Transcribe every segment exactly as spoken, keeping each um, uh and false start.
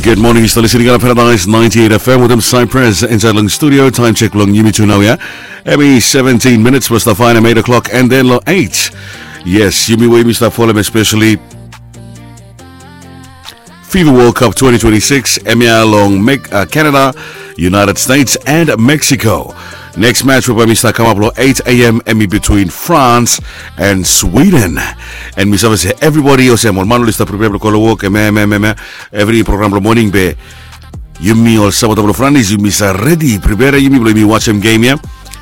Good morning, yu stap listening long Paradise ninety-eight F M wetem Cypress insaed long studio. Time check blong yumi tu nao ia. Hemi seventeen minutes blong stap faenem eight o'clock and then long eight. Yes, yumi we yumi stap folem especially FIFA World Cup twenty twenty-six, hemia long Mex- uh, Canada, United States and Mexico. Next match we bae mi stap kamap long eight a.m. hemi between France and Sweden. And mi save se everybody olsem ol man oli stap prepare blong go long wok, hemia hemia hemia, evri program blong moning be yumi ol sapota blong Franis, yumi stap redi prepare yumi blong yumi wasem game ia.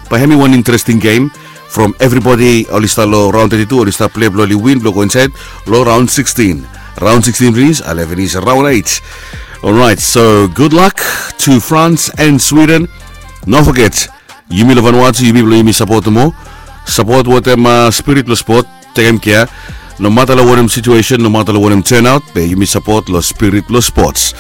Bae hemi wan interesting game from everybody oli stap long raon thirty-two, oli stap plei blong oli win blong go insaed long raon sixteen. Raon sixteen finis, ale finis raon eight. Alright, so good luck to France and Sweden. No foget, yumi long Vanuatu, yumi blong yumi sapot moa. Sapot wetem uh, spirit blong spot, tekem kea. Nomata long wanem situation, nomata long wanem turnout, be yumi sapot long spirit blong sports.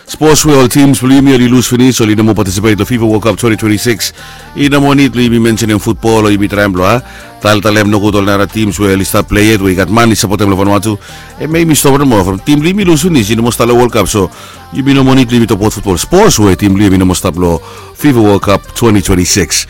Sports we ol teams blong yumi oli lus finis, oli no moa participate long FIFA World Cup twenty twenty-six. I no moa nid blong yumi mentionem futbol o yumi traem blong a taltalem nogud ol nara teams we oli stap plei yet we i gat man i sapotem long Vanuatu. Hemia yumi stop nomo from team blong yumi lus finis, i no moa stap long World Cup, so yumi no moa nid blong yumi tokbaot futbol. Sports we team blong yumi no moa stap long FIFA World Cup twenty twenty-six.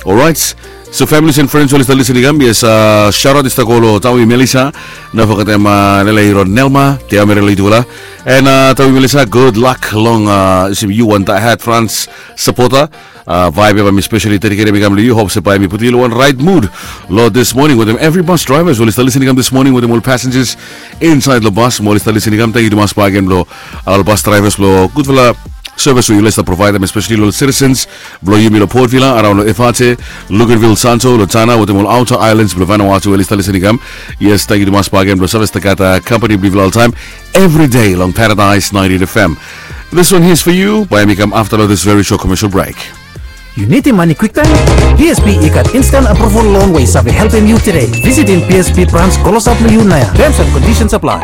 Alright. So families and friends we oli stap listening kam, yes, uh, shout out i stap go long Tawi Melissa, no fogetem uh, Lele Iron Nelma, Tia Merela i tufala. And uh, Tawi Melissa, good luck long uh, yu wan diehard France supporter. Uh, vibe ia bae mi specially dedicate hemi kam long yu. Hope se bae mi putum yu long wan right mood long this morning wetem every bus drivers we oli stap listening kam this morning, wetem ol passengers insaed long bus mo oli stap listening kam. Tangkiu tumas bakegen blong ol bus drivers blong gudfala service we yufala i stap provaedem, especially long citizens blong yumi long Port Vila, araon long Efate, Luganville, Santo, long Tanna wetem ol outer islands blong Vanuatu we oli stap listening kam. Yes, tangkiu tumas bakegen blong save stap gat uh, company blong yufala oltaem, every day long Paradise ninety-eight F M. This one here is for you. Bae hemi kam afta long this very short commercial break. Yu nidim mane kwiktaem? P S B i gat instant approval loan we i save helpem yu tede. Visitim P S B branch klosap long yu naoia. Terms and conditions apply.